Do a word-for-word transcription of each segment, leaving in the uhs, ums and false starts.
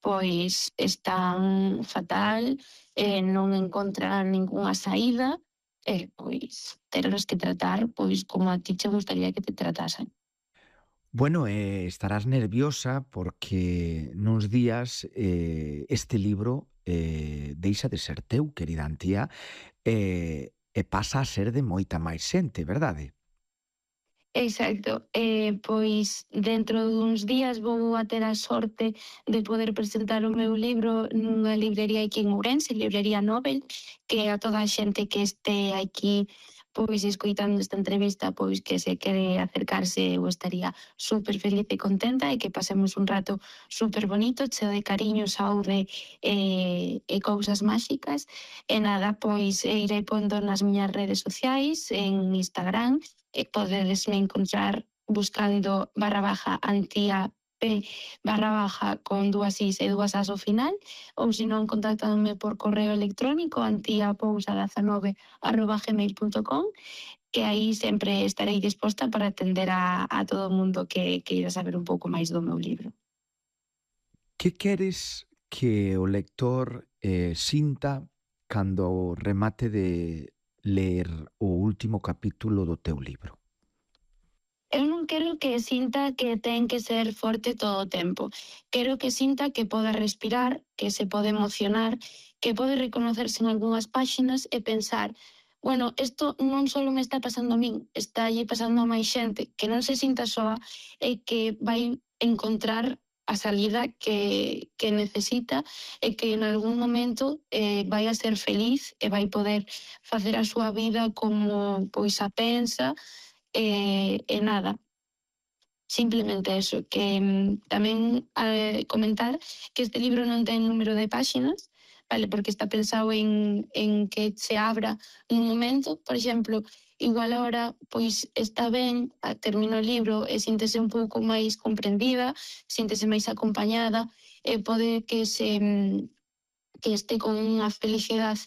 pois están fatal, eh, non encontran ningunha saída, e pois terlos que tratar pois como a ti che gustaría que te tratasen. Bueno, eh, estarás nerviosa porque nuns días eh, este libro eh, deixa de ser teu, querida Antía, e, e pasa a ser de moita máis xente, verdade? Exacto, eh, pois dentro duns días vou a ter a sorte de poder presentar o meu libro nunha librería aquí en Ourense, Librería Nobel, que a toda a xente que este aquí pois escoitando esta entrevista, pois que se quere acercarse, eu estaría super feliz e contenta e que pasemos un rato super bonito, cheo de cariño, saúde e, e cousas máxicas. E nada, pois irei pondo nas miñas redes sociais, en Instagram, e podedesme encontrar buscando barra baja Antía P barra baja con dúas is e dúas as ao final, ou se non contactadme por correo electrónico antiapousa dezanove arroba gmail punto com, que aí sempre estarei disposta para atender a, a todo o mundo que queira saber un pouco máis do meu libro. Que queres que o lector eh, sinta cando remate de ler o último capítulo do teu libro? Eu non quero que sinta que ten que ser forte todo o tempo. Quero que sinta que poda respirar, que se pode emocionar, que pode reconocerse en algunhas páxinas e pensar, bueno, isto non só me está pasando a min, está allí pasando a máis xente, que non se sinta soa e que vai encontrar a salida que, que necesita e que en algún momento eh, vai a ser feliz e vai poder facer a súa vida como pois a pensa. E, e nada, simplemente eso, que mm, tamén eh, comentar que este libro non ten número de páxinas, vale, porque está pensado en, en que se abra nun momento, por exemplo, igual ahora pois está ben, termino o libro e síntese un pouco máis comprendida, síntese máis acompañada, e pode que se mm, que este con unha felicidade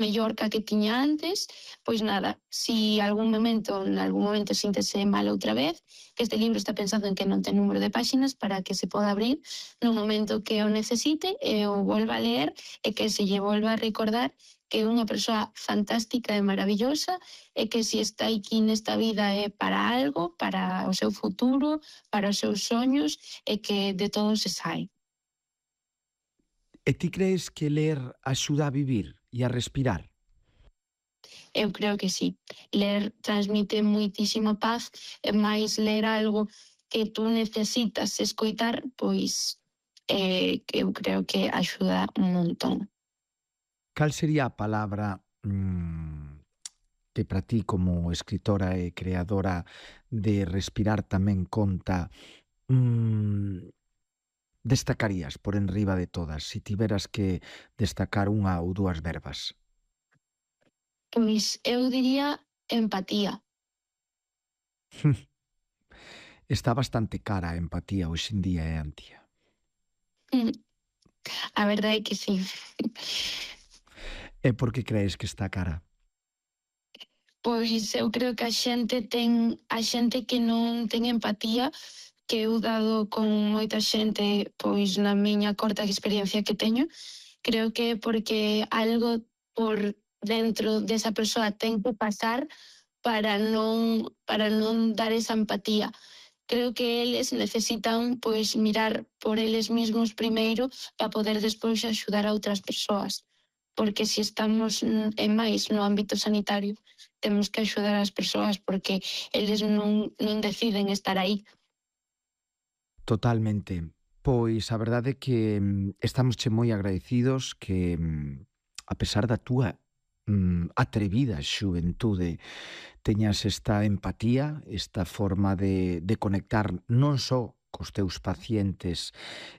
mellor que a que tiña antes, pois nada, si algún momento, en algún momento síntese mal outra vez, que este libro está pensado en que non ten número de páxinas para que se poda abrir no momento que o necesite e o volva a ler e que se lle volva a recordar que é unha persoa fantástica e maravillosa e que si está aquí nesta vida é para algo, para o seu futuro, para os seus soños e que de todo se sae. E ti crees que ler axuda a vivir e a respirar? Eu creo que sí. Ler transmite moitísima paz, e máis ler algo que tú necesitas escoitar, pois eh, eu creo que axuda un montón. Cal sería a palabra mm, que para ti como escritora e creadora de Respirar tamén conta mm, destacarías por enriba de todas, se si tiveras que destacar unha ou dúas verbas? Pois eu diría empatía. Está bastante cara a empatía hoxe en día, eh, Antía? Mm, A verdade é que sí. E por que crees que está cara? Pois eu creo que a xente ten a xente que non ten empatía, que eu dado con moita xente, pois na miña corta experiencia que teño, creo que é porque algo por dentro desa persoa ten que pasar para non para non dar esa empatía. Creo que eles necesitan pois mirar por eles mesmos primeiro para poder despois axudar a outras persoas. Porque se estamos en máis no ámbito sanitario, temos que axudar as persoas porque eles non, non deciden estar aí. Totalmente. Pois a verdade é que mm, estamosche moi agradecidos que mm, a pesar da túa mm, atrevida xuventude teñas esta empatía, esta forma de, de conectar non só cos teus pacientes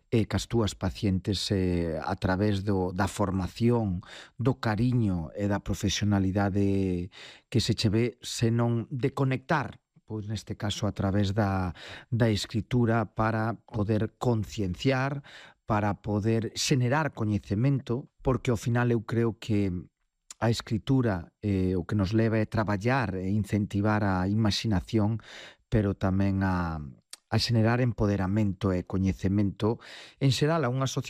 e cas túas pacientes eh, a través do, da formación, do cariño e da profesionalidade que se che ve, senón de conectar, pois neste caso a través da, da escritura para poder concienciar, para poder xenerar coñecemento, porque ao final eu creo que a escritura eh, o que nos leva é traballar e incentivar a imaginación, pero tamén a, a xenerar empoderamento e coñecemento en xeral a unha sociedade